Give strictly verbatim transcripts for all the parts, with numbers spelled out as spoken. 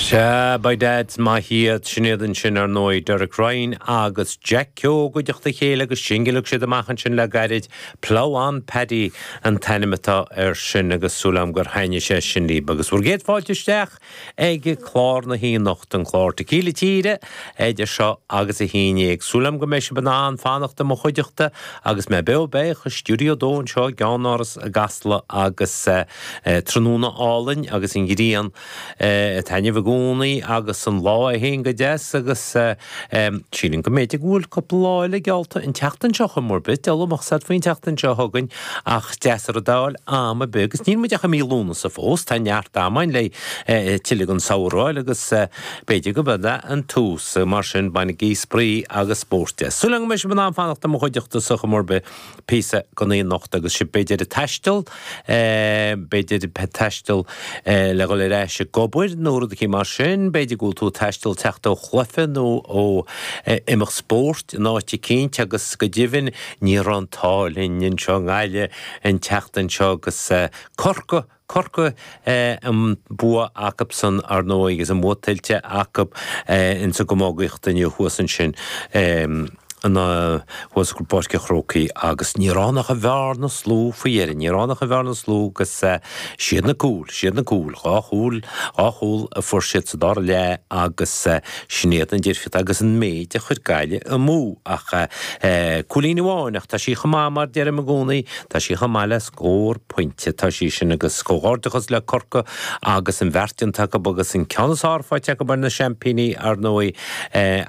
Sea, by Dads maith iad sin iad ansin ar ndóigh Derek Ryan agus Jack Keogh i gcuideachta a chéile agus singil a thug siad amach ansin le gairid Plough on Paddy an t-ainm atá air sin agus súil agam gur thaitnigh sé sin libh agus bhur gcéad fáilte isteach ag clár na haon anocht an clár Tequila Tíre idir seo agus a haon déag. Súil agam go mbeidh sibh in ann fanacht i mo chuideachta agus mé beo beag i stiúideo dó anseo i gceannáras i gCasla agus eh, eh, tráthnóna álainn agus an ghrian eh, ag taitneamh i gcónaí agus an lá é féin go deas agus sílim go mb'fhéidir go bhfuil cúpla lá eile geallta an tseachtain seo chomh mór bit delamach sad faoin tseachtain seo chugainn ach deas ar a dáil am a be agus níl muid ach i mí Lúnasa fós tá neart ama le tuilleadh an samhradh agus b'fhéidir go b'é an tús mar sin bainigí spraoi agus spórt de. Súil agam go mbeidh sibh in ann fanacht i mo chuideachta sa chomór be píosa go naoi anocht agus sibh b'fhéidir ag taisteal b'fhéidir taisteal le dhul ar ais ag obair nó rud éicint mar sin, b'fhéidir go bhfuil tú taisteal teacht ó chluiche nó ó imeacht spóirt in áit eicínt agus go deimhin ní raibh an t-ádh linn anseo i nGaillimh an tseachtain seo agus Corcaigh Corcaigh an bua acusan ar ndóigh agus an bua tuillte acu insa gcamógaíocht inniu thuas ansin. Thuas i bPáirc an Chrócaigh agus ní raibh ach an bhearna slú faoi dheireadh, ní raibh ach an bhearna slú agus siad na cúil, siad na cúil, dhá chúl, dhá chúl a fuair siad sa dara leath agus sin iad an difríocht agus an méid a chuir Gaillimh amú ach cúilín amháin ach tá sí chomh maith mar deirim i gcónaí, tá sí chomh maith le scór pointe, tá sí sin agus comhghairdeachas le Corcaigh agus an bheart déanta acu agus an ceann is fearr faighte acu ar na seaimpíní ar ndóigh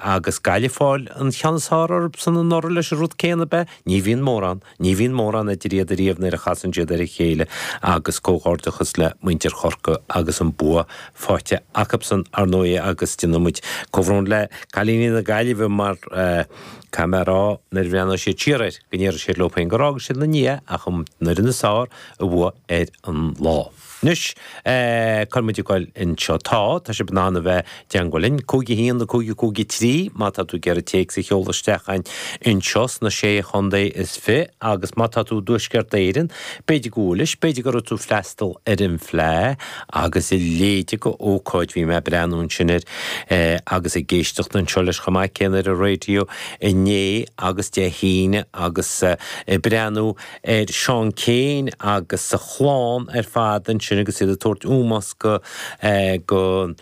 agus Gaillimh fáil an cheann is fearr orthu san anuraidh leis an rud céanna be, ní bhíonn mórán, ní bhíonn mórán idir iad ariamh nuair a chasann siad ar a chéile agus comhghairdeachas le muintir Chorcaí agus an bua faighte acusan ar ndóigh agus déanann muid comhbhrón le cailíní na Gaillimhe mar caithfidh mé a rá nuair a bhreathnóidh siad siar air go ndéarfaidh siad leo féin gur fhág siad ina ndiaidh ach an fhoireann is fearr a bhuaigh ar an lá. Anois, cá bhfuil muid ag goil anseo? Tá, tá sibh in ann a bheith i dteangmháil linn, cúig a haon, a cúig, a cúig a trí, má tá tú ag iarraidh téacs a sheoladh isteach chugainn anseo sna Sé Chontae is Fiche agus má tá tú i dTuaisceart Éireann, b'fhéidir go bhfuilis, b'fhéidir go raibh tú ag freastal ar an bhFleadh agus a leithéid de ócáid, bhí mé ag breathnú ansin air agus ag éisteacht anseo leis chomh maith céanna ar an raidió inné agus Dé hAoine agus ag breathnú ar Seán Kyne agus a chlann ar fad ansin agus iad ag tabhairt ómós go go